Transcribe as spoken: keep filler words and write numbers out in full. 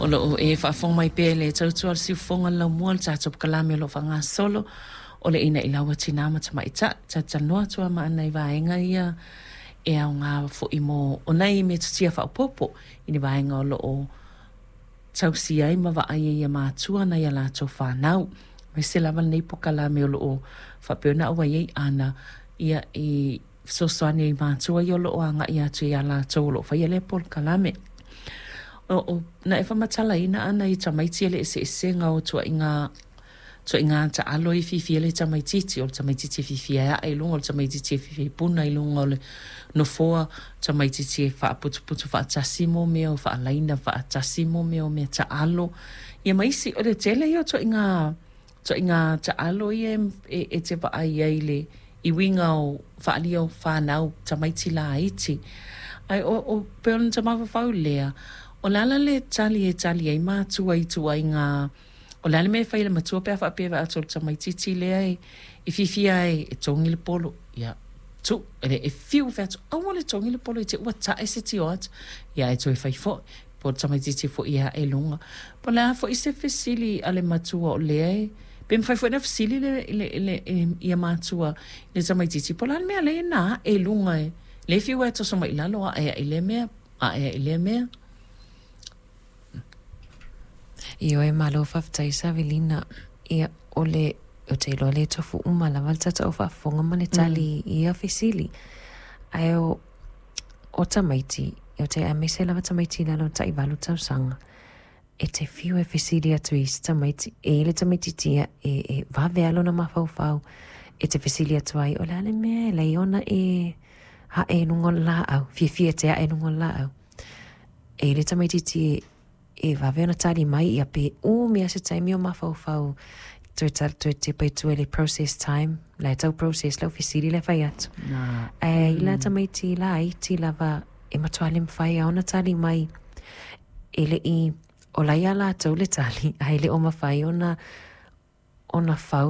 O loo e faafofoga mai pea i le tautua a le siufofoga le laumua le tatou polokalame o loo faagasolo o le Ina i Laua Tina ma Tamaitai. Talatalanoa atu lava ma ana i vaega ia e aoga foi mo o nai metotia faaopoopo i ni vaega o loo tausia ai ma vaai ai e matua nai a latou fanau. Aemaise lava lenei polokalame o loo faapea ona auai ai Ana ia i fesoasoani i matua ia o loo agai atu ia latou o loo faia lea polokalame. O, o, na e faamatalaina Ana i tamaiti le eseesega o tuaiga tuaiga taalo e fiafia le tamaitiiti o le tamaitiiti e fiafia e ae i luga o le tamaitiiti e fiafia e puna i luga o le nofoa tamaitiiti e faaputuputu faatasi mo mea o faalaina faatasi mo mea o mea taalo ia ma isi o le tele ia o tuaiga tuaiga taalo ia e, e te vaai ai le i uiga o faalia o fanau tamaiti laiti ai o, o pe ona ta mafaufau lea o le ala le tali e tali ai matua i tuaiga o le a le mea e fai e le matua pe a faapea e vaai atu o le tamaitiiti lea e, e fiafia ai e togi le polo ia tu e, e fiu fai atu aua le togi le polo i te ua tae se tio atu ia e toe fai foi po o le tamaitiiti foi e ae luga po o le a foi se fesili a le matua o lea e pe mafai foi na fesili le, le, le, le, ia matua le tamaitiiti po o le a le mea lea na ae luga e le fiu e toso mai i lalo ae ai lea mea ae ai lea mea. Ioe, malo faafetai Savelina. Ia, o le o te iloa le tofu uma lava le tatou faafofoga ma le tali mm. ia fesili. Ae o, o tamaiti, o te aemaise lava tamaiti i lalo o tai valu tausaga. E te fiu e fesili atu i isi tamaiti, e i le tamaitiiti ia e, e vave a lona mafaufau. E te fesili atu ai, o le a le mea e lai ona e ae i luga o le laau, fiafia te ae i luga o le laau. E i le tamaitiiti e, e vave ona tali mai ia pe umi a se taimi o mafaufau toe tali toe tepa i tua i le process time la e tau process lau fesili le fai atu. Na. Ae i la tamaiti laiti lava e matua le mafai a ona tali mai e le i o la ia latou le tali ae le o mafai ona ona fau